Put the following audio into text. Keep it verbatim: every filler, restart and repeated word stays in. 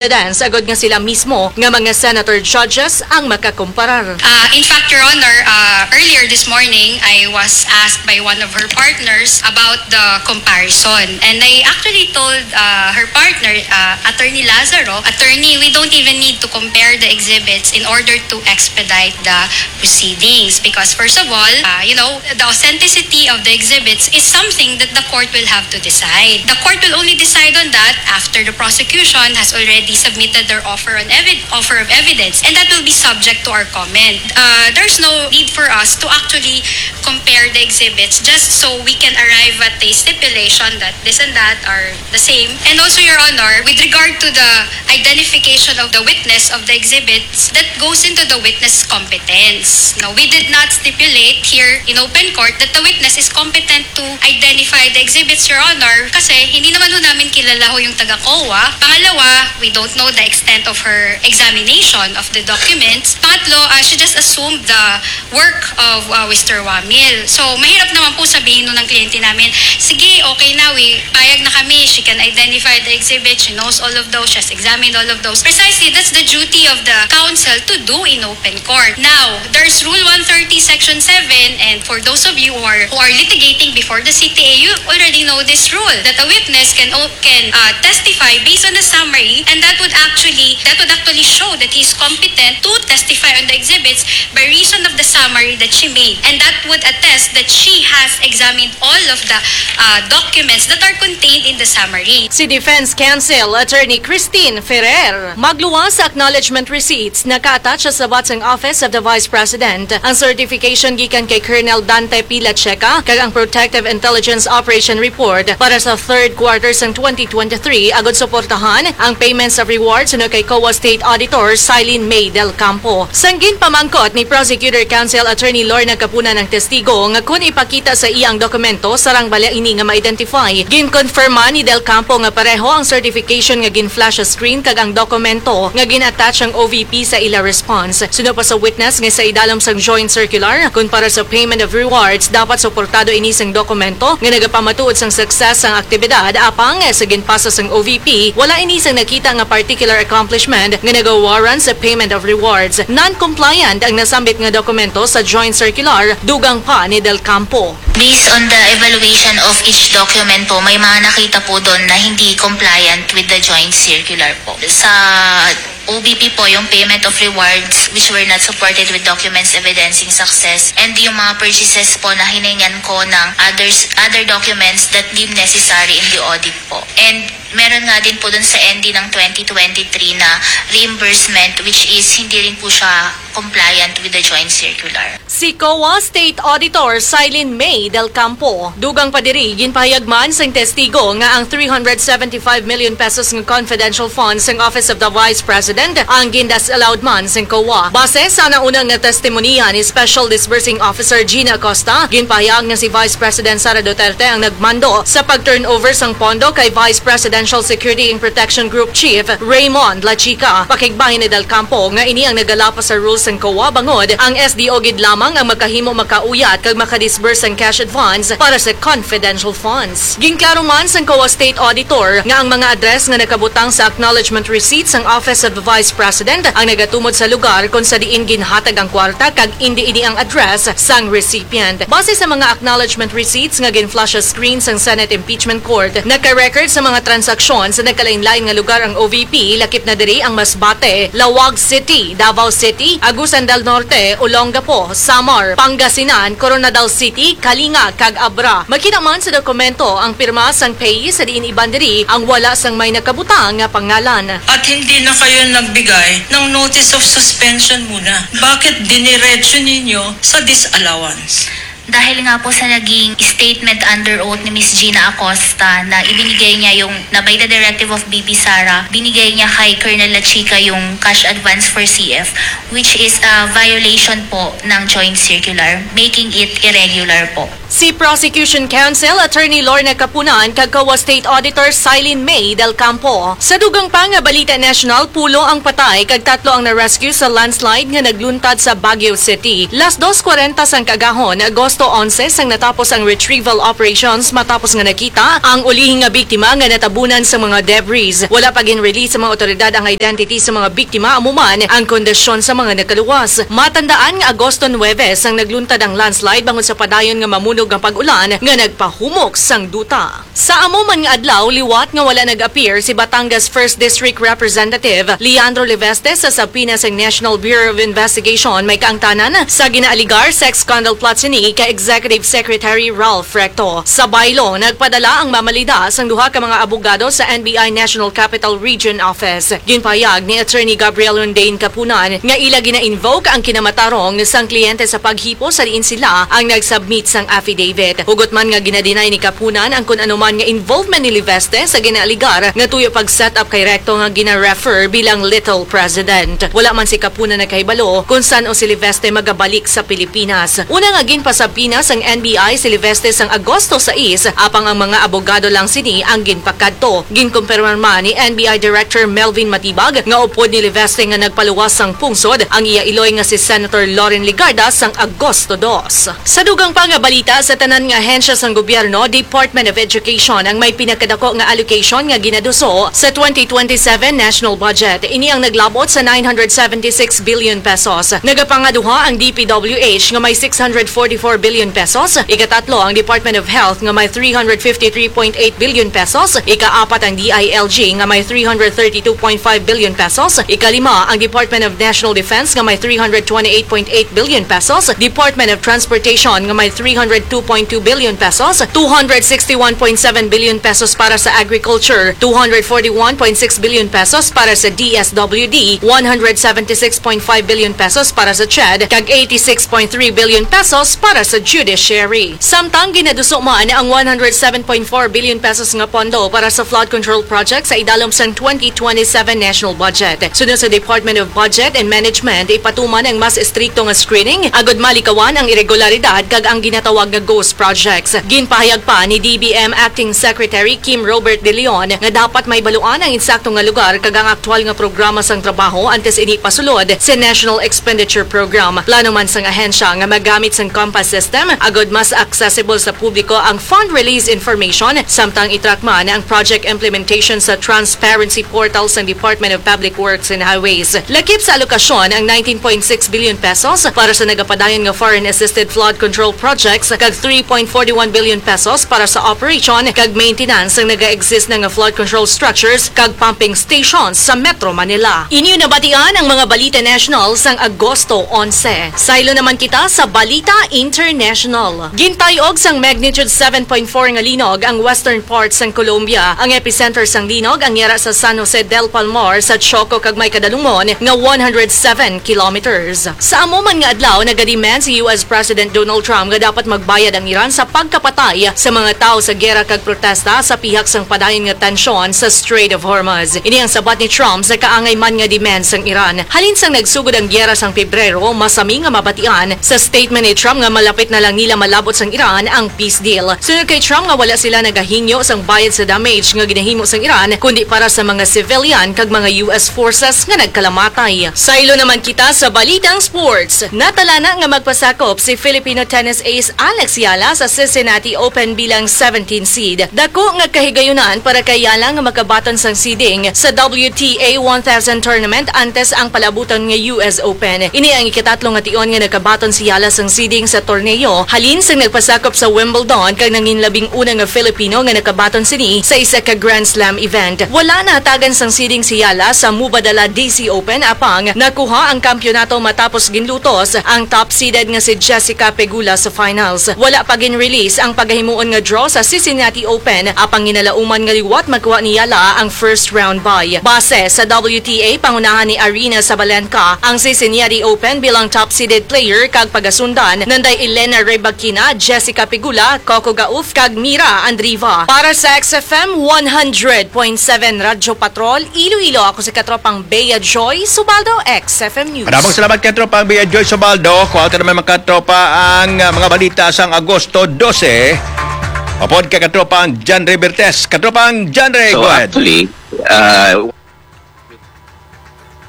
evidence agod nga sila mismo nga mga senator judges ang makakumparar. Uh, in fact, Your Honor, uh, earlier this morning, I was asked by one of her partners about the comparison. And I actually told uh, her partner, uh, Attorney Lazaro, "Attorney, we don't even need to compare the exhibits in order to expedite the proceedings." Because first of all, uh, you know, the authenticity of the exhibits is something that the court will have to decide. The court will only decide on that after the prosecution has already submitted their offer on evi- offer of evidence, and that will be subject to our comment. Uh, there's no need for us to actually compare the exhibits just so we can arrive at a stipulation that this and that are the same. And also, Your Honor, with regard to the identification of the witness of the exhibits, that goes into the witness competence. No, we did not stipulate here in open court that the witness is competent to identify the exhibits, Your Honor, kasi hindi naman ho namin kilala ho yung taga-COA. Pangalawa, we don't know the extent of her examination of the documents. Pangatlo, uh, she just assumed the work of uh, Mister Wamil. So, mahirap naman po sabihin nun ng kliyente namin, "Sige, okay na, we, payag na kami, she can identify the exhibit, she knows all of those, she has examined all of those." Precisely, that's the duty of the counsel to do in open court. Now, there's Rule one thirty, Section seven, and for those of you who are, who are litigating before the C T A, you already know this rule, that a witness can o- can uh, testify based on a summary, and that would actually that would actually show that he's competent to testify on the exhibits by reason of the summary that she made, and that would attest that she has examined all of the uh, documents that are contained in the summary. Si Defense Counsel Attorney Christine Ferrer magluwas sa acknowledgement receipts naka-attach sa sabat sang Office of the Vice President. Ang certification gikan kay Colonel Dante P. Lacheca kag ang Protective Intelligence Operation Report para sa third quarter sang twenty twenty-three agud suportahan ang payments of rewards suno kay COA State Auditor Silene May Del Campo. Sang ginpamangkot ni Prosecutor Counsel Attorney Lorna Capuna ang testigo nga kun ipakita sa iya ang dokumento, sarang bala ini nga ma-identify. Ginkonfirma ni Del Campo nga pareho ang certification nga gin-flash sa screen kag ang dokumento nga gin-attach ang O V P sa ila response. Suno pa sa witness nga sa idalom sang joint circular, kun para sa payment of rewards, dapat suportado ini sang dokumento nga nagapamatuod sang success sang aktibidad, apang sa ginpasa sang O V P, wala ini sang nakita nga particular accomplishment nga nagawarrant sa payment of rewards. Non-compliant ang nasambit nga dokumento sa joint circular, dugang pa ni Del Campo. Based on the evaluation of each document po, may mga nakita po doon na hindi compliant with the joint circular po. Sa O V P po, yung payment of rewards which were not supported with documents evidencing success, and yung mga purchases po na hiningan ko ng others, other documents that deemed necessary in the audit po. And meron nga din po dun sa N D ng twenty twenty-three na reimbursement, which is hindi rin po siya compliant with the joint circular. Si COA State Auditor Silene May Del Campo. Dugang pa diri, ginpahayag man sang testigo nga ang three hundred seventy-five million pesos nga confidential funds sang Office of the Vice President ang gindisallowed man sang COA. Base sa nauna nga testimonya ni Special Disbursing Officer Gina Acosta, ginpahayag nga si Vice President Sara Duterte ang nagmando sa pag-turnover sang pondo kay Vice Presidential Security and Protection Group Chief Raymond Lachica. Pakigbahin ni Del Campo nga ini ang nagalapas sa rules sang COA, bangod ang S D O gid lamang ang makahimo, makauyat kag makadisburse sang cash advance para sa confidential funds. Ginklaro man sang COA State Auditor nga ang mga address nga nakabutang sa acknowledgement receipt sang Office of the Vice President ang nagatumod sa lugar kon sa diin ginhatag ang kwarta kag indi ini ang address sang recipient. Base sa mga acknowledgement receipts nga gin-flash sa screen sang Senate Impeachment Court, naka-record sa mga transaksyon sa nagkalain-lain nga lugar ang O V P, lakip na diri ang Masbate, Laoag City, Davao City, Agusan del Norte, Olongapo, Samar, Pangasinan, Koronadal City, Kalinga, kag Abra. Makita man sa dokumento ang pirma sang payee, sa diin iban diri ang wala sang may nakabutang nga pangalan. At hindi na kayo nagbigay ng notice of suspension muna. Bakit diniretso ninyo sa disallowance? Dahil nga po sa naging statement under oath ni Miss Gina Acosta na ibinigay niya yung, na by the directive of V P Sara, binigay niya kay Colonel Lachica yung cash advance for C F, which is a violation po ng joint circular, making it irregular po. Si Prosecution Counsel Attorney Lorna Kapunan kag COA State Auditor Silene May Del Campo. Sa dugang pa nga balita national, pulo ang patay kag tatlo ang na-rescue sa landslide nga nagluntad sa Baguio City. Las dos kwarenta sang kaagahon, Agosto onse, sang natapos ang retrieval operations matapos nga nakita ang ulihi nga biktima nga natabunan sa mga debris. Wala pa gin-release sa mga otoridad ang identity sa mga biktima, amo man ang kondisyon sa mga nakaluwas. Matandaan nga Agosto nuebe sang nagluntad ang landslide bangod sa padayon nga mamunog nga pag-ulan nga nagpahumok sang duta. Sa amo man nga adlaw, liwat nga wala nag-appear si Batangas First District Representative Leandro Leveste sa subpoena sang National Bureau of Investigation may kaangtanan sa ginaaligar sex scandal plot sini kay Executive Secretary Ralph Recto. Sa baylo, nagpadala ang mamalida sang duha ka mga abogado sa N B I National Capital Region Office. Ginpahayag ni Attorney Gabriel Rondain Kapunan nga ila gina-invoke ang kinamatarong sang kliyente sa paghipo sa diin sila ang nag-submit sang affidavit. Hugot man nga gina-deny ni Kapunan ang kun ano man nga involvement ni Leveste sa ginaaligar nga tuyo pag-set up kay Recto nga gina-refer bilang Little President. Wala man si Kapunan nakahibalo kung san-o si Leveste magabalik sa Pilipinas. Una nga ginpasubpoena sang N B I si Leveste sang Agosto sais, apang ang mga abogado lang sini ang ginpakadto. Ginkumpirma man ni N B I Director Melvin Matibag nga upod ni Leveste nga nagpaluwas sang pungsod ang iya iloy nga si Senator Loren Legarda sang Agosto dos. Sa dugang pa nga balita, sa tanan nga ahensya sang gobyerno, Department of Education ang may pinakadako nga allocation nga ginaduso sa twenty twenty-seven national budget. Ini ang naglabot sa nine hundred seventy-six billion pesos. Nagapangaduha ang D P W H nga may six hundred forty-four billion pesos, ikatatlo ang Department of Health nga may three hundred fifty-three point eight billion pesos, ikaapat ang D I L G nga may three hundred thirty-two point five billion pesos, ikalima ang Department of National Defense nga may three hundred twenty-eight point eight billion pesos, Department of Transportation nga may three hundred two point two billion pesos, two hundred sixty-one point seven billion pesos para sa agriculture, two hundred forty-one point six billion pesos para sa D S W D, one hundred seventy-six point five billion pesos para sa CHED, kag eighty-six point three billion pesos para sa judiciary. Samtang ginaduso man ang one hundred seven point four billion pesos nga pondo para sa flood control project sa idalom sang twenty twenty-seven national budget. Sunod sa Department of Budget and Management, ipatuman ang mas estrikto nga screening agud malikawan ang iregularidad kag ang ginatawag nga ghost projects. Ginpahayag pa ni D B M Acting Secretary Kim Robert De Leon nga dapat mahibaluan ang insakto nga lugar kag ang aktual nga programa sang trabaho antes ini pasulod sa National Expenditure Program. Plano man sang ahensya nga magamit sang COMPAS system agud mas accessible sa publiko ang fund release information, samtang i-track man ang project implementation sa transparency portal sang Department of Public Works and Highways. Lakip sa alokasyon ang nineteen point six billion pesos para sa nagapadayon nga foreign-assisted flood control projects kag three point forty-one billion pesos para sa operation kag maintenance sang naga-exist na nga flood control structures kag pumping stations sa Metro Manila. Inyo nabatian ang mga balita national sang Agosto onse. Saylo naman kita sa balita international. Gintay-og sang magnitude seven point four nga linog ang western part sang Colombia. Ang epicenter sang linog ang yara sa San Jose del Palmar sa Choco kag may kadalumon nga one hundred seven kilometers. Sa amo man nga adlaw, nagademand si U S President Donald Trump nga dapat magbayad ang Iran sa pagkapatay sa mga tawo sa gera kag protesta sa pihak sang padayon nga tensyon sa Strait of Hormuz. Ini ang sabat ni Trump sa kaangay man nga demand sang Iran. Halin sang nagsugod ang gera sang Pebrero, masami nga mabatian sa statement ni Trump nga malapit na lang nila malabot sang Iran ang peace deal. Sunod kay Trump nga wala sila nagahingyo sang bayad sa damage nga ginahimo sang Iran, kundi para sa mga civilian kag mga U S forces nga nagkalamatay. Saylo naman kita sa balitang sports. Natalana nga magpasakop si Filipino tennis ace Alex Yala sa Cincinnati Open bilang seventeen seed. Dako nga kahigayunan para kay Yala nga makabaton sang seeding sa W T A one thousand tournament antes ang palabuton nga U S Open. Ini ang ikatatlo nga tion nga nakabaton si Yala sang seeding sa torneo halin sang nagpasakop sa Wimbledon kag nanginlabing una nga Filipino nga nakabaton sini sa isa ka Grand Slam event. Wala nahatagan sang seeding si Yala sa Mubadala D C Open, apang nakuha ang kampiyonato matapos ginlutos ang top seeded nga si Jessica Pegula sa finals. Wala pa gin-release ang pagahimuon nga draw sa Cincinnati Open, apang ginalauman nga liwat makuha ni Yala ang first round bye. Base sa W T A, pangunahan ni Aryna Sabalenka ang Cincinnati Open bilang top seeded player, kag pagasundan nanday Elena Rybakina, Jessica Pegula, Coco Gauff, kag Mira Andreeva. Para sa X F M one hundred point seven Radyo Patrol, Iloilo, ako si Katropang Bea Joy Subaldo, X F M News. Maraming salamat, Katropang Bea Joy Subaldo. Kuha ka naman, mga katropa, ang, ah, mga balita sa sang Agosto dose, upod kay Katropang John Ray Bertes. Katropang John Ray, So, go ahead. Actually, uh,